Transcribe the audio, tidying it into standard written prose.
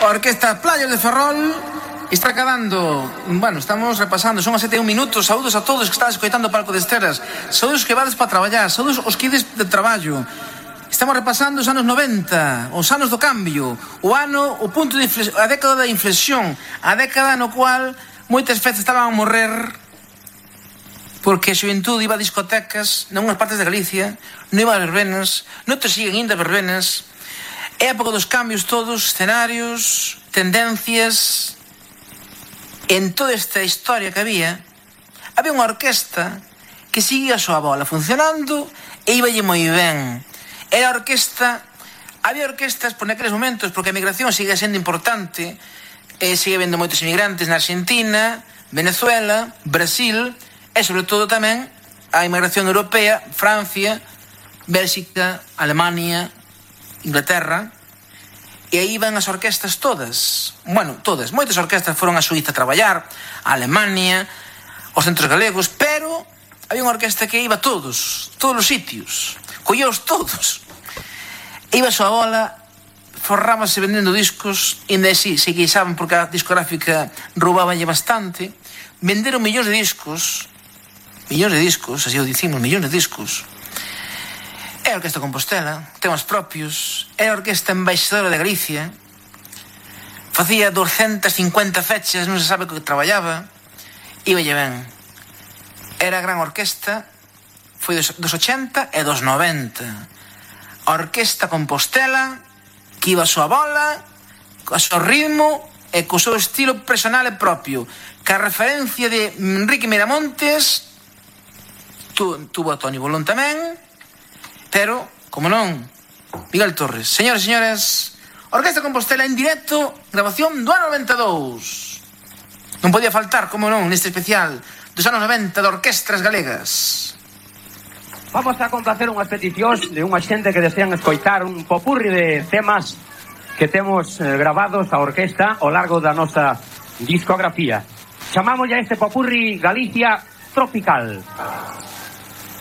A Orquesta Playas de Ferrol está acabando. Bueno, estamos repasando, son as 7:01 minutos. Saúdos a todos que están escoitando o Palco de Esteras. Saúdos que vades para traballar, saúdos os que ides de traballo. Estamos repasando os anos 90, os anos do cambio, o punto de inflexión, a década da inflexión, a década no cual moitas veces estaban a morrer porque a xuventude iba a discotecas nunhas partes de Galicia, non iba a verbenas, non te siguen indo a verbenas. É a época dos cambios todos, escenarios, tendencias. En toda esta historia que había unha orquesta que seguía a súa bola funcionando e íballe moi ben. Era a orquesta. Había orquestas por naqueles momentos, porque a emigración sigue sendo importante, sigue vendo moitos emigrantes na Argentina, Venezuela, Brasil e sobre todo tamén a emigración europea, Francia, Bélxica, Alemania, Inglaterra. E aí van as orquestas todas. Bueno, todas. Moitas orquestas foron a Suíza a traballar, a Alemania, aos centros galegos, pero había unha orquesta que iba a todos os sitios, colleos todos. Iba a súa bola, forrábase vendendo discos, e ainda así se queixaban porque a discográfica roubábanlle bastante. Venderon millóns de discos, así o dicimos, millóns de discos. É a Orquesta Compostela, temas propios, é a Orquesta Embaixadora de Galicia, facía 250 fechas, non se sabe o que traballaba, íballe ben. Era a gran orquesta, foi dos 80 e dos 90. A Orquesta Compostela, que iba a súa bola, a súa ritmo e co seu estilo personal e propio, que a referencia de Enrique Miramontes, tuvo a Toni Bolón tamén, pero, como non, Miguel Torres. Señores e señores, Orquesta Compostela en directo, grabación do ano 92. Non podía faltar, como non, neste especial dos anos 90 de orquestras galegas. Vamos a complacer unhas peticións de unha xente que desean escoitar un popurri de temas que temos gravados a orquesta ao largo da nosa discografía. Chamamos a este popurri Galicia Tropical.